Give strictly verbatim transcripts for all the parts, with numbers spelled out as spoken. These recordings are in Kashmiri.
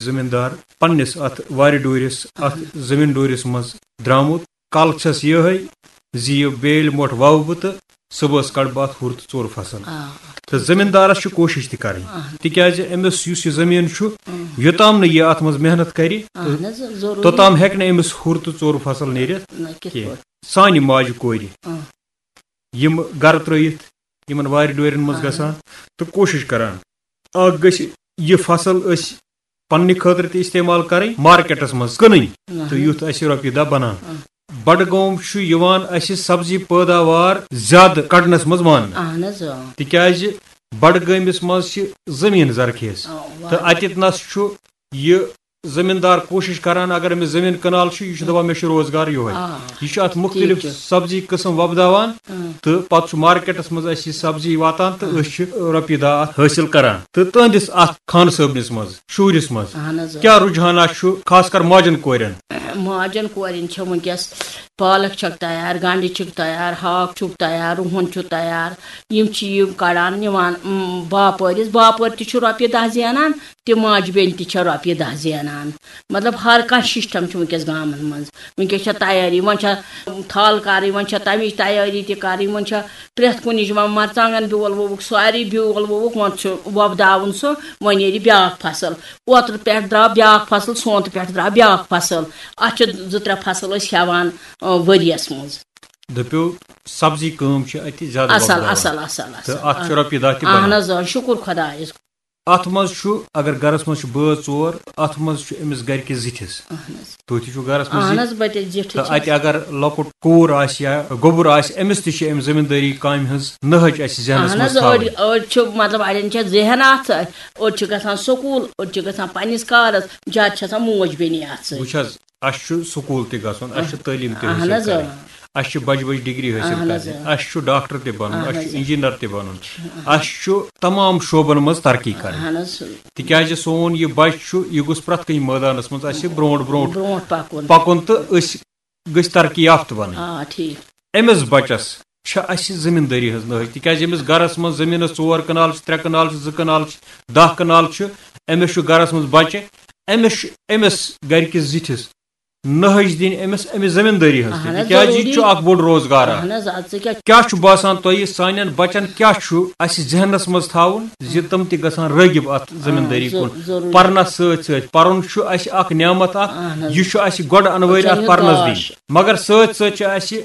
زٔمیٖندار پننِس اتھ وارِ ڈوٗرِس، اتھ زٔمیٖن ڈوٗرِس منٛز درٛامُت۔ کل چھس یِہے زِ یہِ بیلۍ مۄٹھ وَوٕ بہٕ تہٕ صُبحس کڑٕ بہٕ اتھ ہُر تہٕ ژوٚر فصل۔ آ۔ تہٕ زٔمیٖندارس چھِ کوٗشِش تہِ کرٕنۍ، آ۔ تِکیازِ أمِس یُس یہِ زٔمیٖن چھُ، اۭں۔ یوٚتام نہٕ یہِ اتھ منٛز محنت کرِ، اہن حظ، ضروٗری۔ توٚتام ہیٚکہِ نہٕ أمِس ہُر تہٕ ژوٚر فصل نیٖرِتھ نہ، کِتھ کینٛہہ۔ پٲٹھۍ؟ سانہِ ماجہِ کورِ، اۭں۔ یِم گرٕ ترٲیِتھ یِمن وارِ ڈورٮ۪ن منٛز اہن۔ گژھان تہٕ کوٗشِش کران، اکھ گژھِ یہِ فصل أسۍ پننہِ خٲطرٕ تہِ استعمال کرٕنۍ، مارکیٹس منٛز کٕنٕنۍ، اہن۔ تہٕ یُتھ اسہِ رۄپیہِ دہ بنان۔ اہن۔ بڈگوم چھُ یِوان اسہِ سبزی پٲداوار زیادٕ کڑنس منٛز ماننہٕ، اہن حظ، آ۔ تِکیازِ بڈگٲمِس منٛز چھِ زٔمیٖن زرخیز، آ، تہٕ واریاہ۔ اتٮ۪تھ نس چھُ یہِ زٔمیٖندار کوٗشِش کران، اگر أمِس زٔمیٖن کنال چھُ، یہِ چھُ دپان، مےٚ چھُ روزگار یِہوٚے۔ آ۔ یہِ چھُ اتھ مُختٔلِف ٹھیٖک چھُ۔ سبزی قٕسم وۄپداوان، اۭں۔ تہٕ پتہٕ چھُ مارکیٹس منٛز اسہِ یہِ سبزی واتان تہٕ، اۭں۔ أسۍ چھِ رۄپیہِ دہ اتھ حٲصِل کران۔ تہٕ تُہنٛدِس اتھ خانہٕ صٲبنِس منٛز، شُرِس منٛز، اہن حظ۔ کیٛاہ رُجحانات چھُ خاص کر ماجن کورٮ۪ن؟ ماجن کورٮ۪ن چھِ وٕنکیٚس پالک چھکھ تیار، گنڈٕ چھِکھ تیار، ہاکھ چھُکھ تیار، رُہن چھُ تیار۔ یِم چھِ یِم کڑان نِوان، اۭں، باپٲرِس۔ باپٲرۍ تہِ چھُ رۄپیہِ دہ زینان، تہِ ماجہِ بیٚنہِ تہِ چھےٚ رۄپیہِ دہ زینان۔ مطلب، ہر کانٛہہ سسٹم چھُ وٕنکیٚس گامن منٛز۔ وٕنکیٚس چھےٚ تیٲری، وۄنۍ چھےٚ تھل کرٕنۍ، وۄنۍ چھےٚ تمِچ تیٲری تہِ کرٕنۍ، وۄنۍ چھےٚ پرٛٮ۪تھ کُنِچ، وۄنۍ مرژٕوانٛگن بیول ووٚوُکھ، سورُے بیول ووٚوُکھ، وۄنۍ چھُ وۄپداوُن سُہ، وۄنۍ نیرِ بیٛاکھ فصل۔ اوترٕ پٮ۪ٹھ درٛاو بیٛاکھ فصل، سونتہٕ پٮ۪ٹھ درٛاو بیٛاکھ فصل۔ اتھ چھِ زٕ ترٛےٚ فصل أسۍ ہٮ۪وان، آ، ؤریس منٛز۔ دٔپِو، سبزی کٲم چھِ اتہِ زیادٕ اصل، وۄپداوان۔ اصل، اصل، اصل۔ تہٕ اتھ چھِ رۄپیہِ دہ تہِ اہن بنان۔ حظ، آ، شُکُر خۄدایس۔ اتھ منٛز چھُ، اگر گرس منٛز چھِ بٲژ ژور، اتھ منٛز چھُ أمِس گرِ کِس زِٹھِس۔ اہن حظ۔ تُہۍ تہِ چھِو گرس منٛز اہن زِٹھۍ۔ حظ، بہٕ تہِ زِٹھٕے تہٕ چھَس۔ اتہِ اگر لۄکُٹ کوٗر آسہِ یا گوٚبُر آسہِ، أمِس تہِ چھِ امہِ زٔمیٖندٲری کامہِ ہٕنٛز نٔہج اسہِ ذہنس اہن منٛز حظ، تھاوٕنۍ۔ أڑۍ، أڑۍ چھِ، مطلب، اڑٮ۪ن چھےٚ ذہن اتھ، أڑۍ چھِ گژھان سکوٗل، أڑۍ چھِ گژھان پننِس کارس، زیادٕ چھِ آسان موج بیٚنی اتھ سۭتۍ۔ وٕچھ حظ، اسہِ چھُ سکوٗل تہِ گژھُن، اسہِ چھِ تعلیٖم تہِ اہن حٲصِل حظ، کرٕنۍ، اۭں۔ اسہِ چھِ بجہِ بجہِ ڈگری حٲصِل اہن حظ، کرنہِ، اۭں۔ اسہِ چھُ ڈاکٹر تہِ بنُن، اہن اسہِ حظ، چھُ اۭں۔ انجینئر تہِ بنُن، اہن۔ اسہِ چھُ تمام شعبن منٛز ترقی کرٕنۍ۔ اہن حظ۔ تِکیازِ سون یہِ بچہِ چھُ، یہِ گوٚژھ پرٛٮ۪تھ کُنہِ مٲدانس منٛز اسہِ برونٛٹھ برونٛٹھ برونٛٹھ پکُن۔ پکُن تہٕ أسۍ گٔژھۍ ترقی یافتہٕ بنٕنۍ۔ آ، ٹھیٖک۔ أمِس بچس چھِ اسہِ زٔمیٖندٲری ہٕنٛز نٲج، تِکیازِ أمِس گرس منٛز زٔمیٖنس ژور کنال چھِ، ترٛےٚ کنال چھِ، زٕ کنال چھِ، دہ کنال چھِ، أمِس چھُ گرس منٛز بچہِ، أمِس چھُ أمِس گرِکِس زِٹھِس نٲج دِنۍ أمِس، أمِس زٔمیٖندٲری ہٕنٛز تہِ، اہن حظ، تِکیازِ یہِ تہِ ضروٗری۔ چھُ اکھ بوٚڑ روزگار اہن اکھ۔ حظ، اَدٕ ژٕ کیٛاہ کیٛاہ چھُ باسان تۄہہِ، سانٮ۪ن بچن کیٛاہ چھُ اسہِ ذہنس منٛز تھاوُن زِ تِم تہِ گژھن رٲغب اتھ زٔمیٖندٲری آ، ضروٗ-، کُن؟ ضروٗری۔ پرنس سۭتۍ سۭتۍ، پرُن چھُ اسہِ اکھ نعمت اکھ، اہن حظ۔ یہِ چھُ اسہِ گۄڈٕ انوٲرۍ اچھا، اتھ یہِ پرنس دِنۍ۔ گاش۔ مگر سۭتۍ سۭتۍ چھِ اسہِ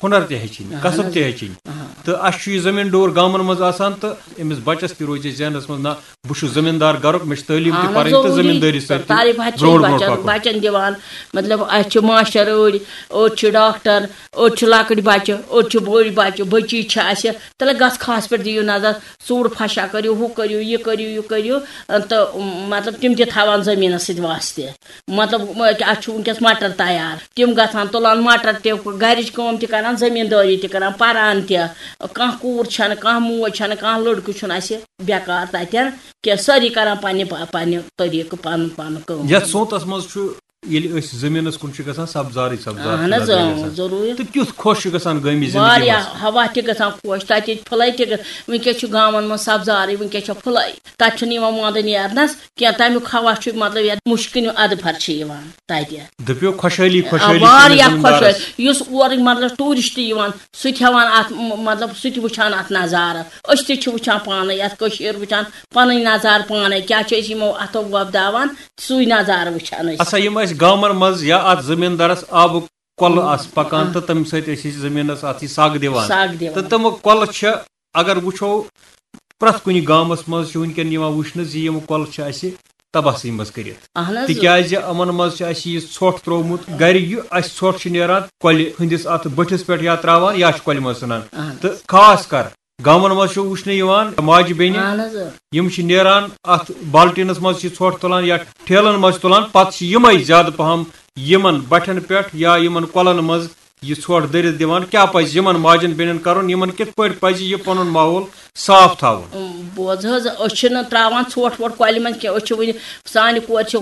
ہُنر تہِ ہیٚچھِنۍ، اہن کسب حظ۔ تہِ ہیٚچھِنۍ۔ اہن۔ تہٕ اسہِ چھُ یہِ زٔمیٖن ڈوٗر گامن منٛز آسان تہٕ أمِس بچس تہِ روزِ ذہنس منٛز، نہ، بہٕ چھُس زٔمیٖندار گرُک، مےٚ چھِ تعلیٖم تہِ اہن حظ، پرٕنۍ تہٕ ضروٗری۔ زٔمیٖندٲری سۭتۍ چھُ تعلیٖم حظ چھِ برونٛٹھ برونٛٹھ بچن، پکُن۔ بچن دِوان، مطلب، اسہِ چھِ ماشٹر أڑۍ، أڑۍ چھِ ڈاکٹر، أڑۍ چھِ لۄکٕٹۍ بچہِ، أڑۍ چھِ بٔڑۍ بچہِ، بٔچی چھِ اسہِ۔ تیٚلہِ گژھ خاص پٲٹھۍ دِیِو نظر، ژوٗر پھشا کٔرِو، ہُہ کٔرِو، یہِ کٔرِو، یہِ کٔرِو، تہٕ، مطلب، تِم تہِ تھاوان زٔمیٖنس سۭتۍ واسطہٕ۔ مطلب، م-، اَتھ چھُ وٕنکیٚس مٹر تیار۔ تِم گژھان تُلان مٹر تہِ، گرِچ کٲم تہِ کران، زٔمیٖندٲری تہِ کران، پران تہِ۔ کانٛہہ کوٗر چھَنہٕ، کانٛہہ موج چھَنہٕ، کانٛہہ لٔڑکہٕ چھُنہٕ اَسہِ بیکار تَتٮ۪ن کینٛہہ۔ سٲری کران پننہِ پا-، پننہِ طریٖقہٕ پنُن پنُن کٲم۔ یَتھ سونتس منٛز چھُ، ییٚلہِ أسۍ زٔمیٖنس کُن چھِ گژھان، سبزارٕے سبزار چھُ اہن حظ، نظرِ اۭں، گژھان۔ ضروٗری۔ تہٕ کیُتھ خۄش چھُ گژھان گٲمی زندگی واریاہ منٛز۔ ہوا تہِ گژھان خۄش، تَتِچ پھٕلے تہِ گژھ-، وٕنکیٚس چھُ گامن منٛز سبزارٕے، وٕنکیٚس چھےٚ پھٕلے۔ تَتہِ چھُنہٕ یِوان وۄندٕ نیرنَس کینٛہہ، تَمیُک ہوا چھُ، مطلب، یَتھ مُشکِنہِ اَدٕ پھر چھِ یِوان تَتہِ۔ دٔپِو، خۄشحٲلی، آ، خۄشحٲلی چھِ واریاہ أمِس زٔمیٖندارَس۔ خۄشحٲلی۔ یُس اورٕکۍ، مطلب، ٹوٗرِسٹ یِوان، سُہ تہِ ہٮ۪وان اَتھ، م-، مطلب، سُہ تہِ وٕچھان اَتھ نظارٕ۔ أسۍ تہِ چھِ وٕچھان پانَے، یَتھ کٔشیٖر وٕچھان پَنٕنۍ نظارٕ پانَے، کیٛاہ چھِ أسۍ یِمو اَتھو وۄپداوان، سُے نظارٕ وٕچھان أسۍ۔ اچھا، یِم اَسہِ گامَن منٛز یا اَتھ زٔمیٖندارَس آبُک کۄلہٕ آسہٕ پکان آ۔ تہٕ تَمہِ سۭتۍ ٲسۍ أسۍ زٔمیٖنَس اَتھ یہِ سگ دِوان۔ سگ دِوان۔ تہٕ تِم کۄلہٕ چھِ، اگر وٕچھو، پرٛٮ۪تھ کُنہِ گامَس منٛز چھِ وٕنکٮ۪ن یِوان وٕچھنہٕ زِ یِم کۄلہٕ چھِ اَسہِ تباہسٕے منٛز کٔرِتھ۔ اہن حظ۔ تِکیٛازِ یِمَن منٛز چھِ اَسہِ یہِ ژھۄٹھ ترٛوومُت۔ گَرِ یہِ اَسہِ ژھۄٹھ چھُ نیران، کۄلہِ ہٕنٛدِس اَتھ بٔٹھِس پٮ۪ٹھ یا ترٛاوان یا چھِ کۄلہِ منٛز ژھٕنان۔ اہن حظ۔ تہٕ خاص کر گامَن منٛز چھُ وٕچھنہٕ یِوان ماجہِ بیٚنہِ، اہن حظ۔ یِم چھِ نیران اَتھ بالٹیٖنَس منٛز چھِ ژھۄٹھ تُلان یا ٹھیلَن منٛز چھِ تُلان، پَتہٕ چھِ یِمَے زیادٕ پَہَم یِمَن بَٹھٮ۪ن پٮ۪ٹھ یا یِمَن کۄلَن منٛز یہِ ژھۄٹھ دٔرِتھ دِوان؟ کیٛاہ پَزِ یِمَن ماجن بیٚنٮ۪ن کَرُن؟ یِمَن کِتھ پٲٹھۍ پَزِ یہِ پَنُن ماحول صاف تھاوُن؟ اُم، بوز حظ، أسۍ چھِنہٕ ترٛاوان ژھۄٹھ وۄٹھ کۄلہِ منٛز کینٛہہ۔ أسۍ چھِ وٕنہِ، سانہِ کورِ چھِ،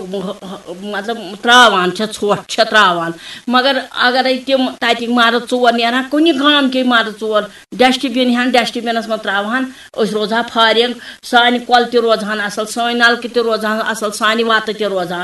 مطلب، ترٛاوان چھےٚ، ژھۄٹھ چھےٚ ترٛاوان، مگر اگرے تِم تَتِکۍ مَرٕد ژور نیرہَن، کُنہِ گامکۍ مَرٕد ژور ڈسٹ بِن ہن، ڈسٹ بِنَس منٛز ترٛاوہَن، أسۍ روزہو فارغ، سانہِ کۄلہٕ تہِ روزہَن اَصٕل، سٲنۍ نَلکہٕ تہِ روزہَن اَصٕل، سانہِ وَتہٕ تہِ روزہَن